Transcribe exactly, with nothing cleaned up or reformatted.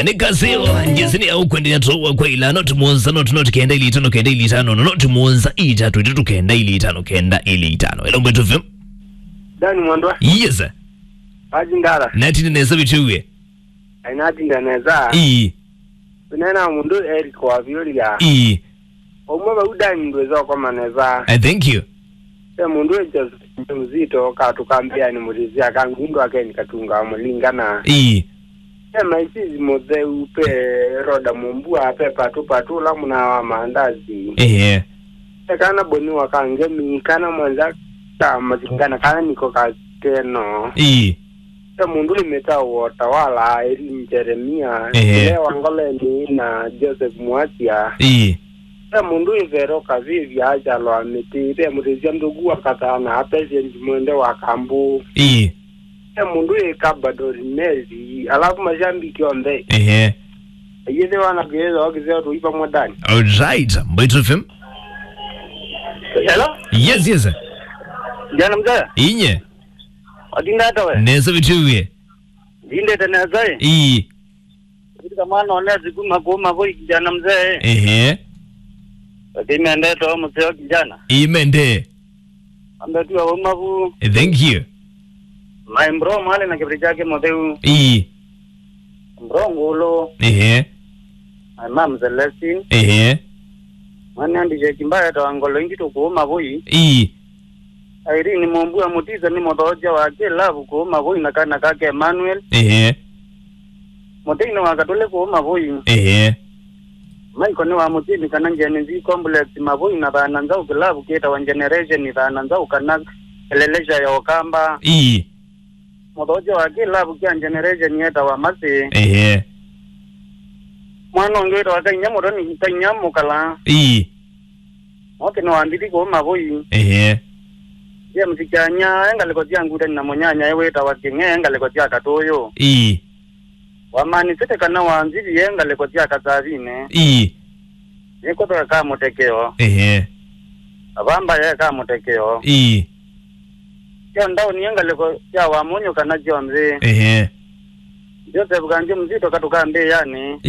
Nĩ Kazeo, njĩsĩ nĩ ya ũkwendea tũwa kwa ila, not mũonza, not, not kenda ili itano, kenda ili itano, no, not mũonza, itatu, itatu, kenda ili itano, kenda ili itano. Hello, Mbaitu F M. Dan Mwandwa. Yes, sir. Aji ndala. Natine nesa bitiwe. Ainatinda nesa. Ii. Tunena mũndũ Eric wa Vioria. Ii. Ũmwe vau Dan ndwĩsa ũkoma nesa. I thank you. Ve mũndũ wĩ Joseph Mzito katũkambĩanĩ mũtĩsya kangundu akeni katunga wa mũlingana. Ii. Ve Maisisi mũtheu, ve Roda Mũmbua, ve Patu Patu ũla mũna wa maandazi. Ehe. Ve kana Boni wa Kangemi, kana Mwanza ka Mathingana, kana Niko Kateno. Ii. Ve mũndũ wĩ mĩtao wa Utawala, Irene Jeremia, Ehe. Lea wa Ngoleni na Joseph Mwasia. Ii. Ve mũndũ wĩ Vero Kavivya, Achalo wa Mĩtĩ, ve mũtĩsya ndũgu wa Kathana, Patient Mwende wa Kambu. Ii. Ve mũndũ wĩ Kabadori Mary, alafu mashambiki onthe. Ehe. Yĩthĩ wana kĩĩthwa kĩseo tũi pamwe Dan. All right, Mbaitu F M. Hello? Yes, yes. Jana mzee. Inye. Watinda ata we? Nesa bitiwe. Ndindete nesa, eh? Ii. Katika mwana onezi kuma kuma voi kijana mzee, eh? Ehe. Lakini mendete wa mzee wa kijana. Ii, mende. Ambe tu wa mavu. Eh, thank you. My bro, mwale na kibri chake mũtheu. Ii. Bro Ngulu. Ehe. My mom Celestine. Ehe. Mwana andije kimbaya ta ngolo ingi tukuuma voi. Ii. Irene Mũmbua Mũtisa nĩ mũthooja wa kĩlavu kũũ Mavũi na kana kake Emmanuel. Ehe. Mũtei nĩ wa Katũle kũũ Mavũi. Ehe. Maiko nĩ wa Mũtini kana Gen Z Complex Mavũi na thana nzaũ kĩlavu kĩtawa Generation thana nzaũ kana Elelesha ya Ũkamba. Ii. Mũthooja wa kĩlavu kya Generation yetawa Masi. Ehe. Mwana ũngĩ wĩtawa Kainya Mũtoni, Kainya Mũkala. Ii. Oke nĩ wa Mbithi kũũ Mavũi. Ehe. James Kyanya, e ngalĩko sya Ngutani na mũnyanya e wĩtawa Kĩng'e, e ngalĩko sya Katũyũ. Ii. Wa Man City kana wa Nzivi, e ngalĩko sya Kasavinĩ. Ii. Nĩkũthwa ka mũtekeo. Ehe. Avamba ye ka mũtekeo. Ii. Sya ndaũni e ngalĩko sya Wamunyu kana syonthe. Ehe. Joseph Kanjo Mzito katũkambĩĩanĩ.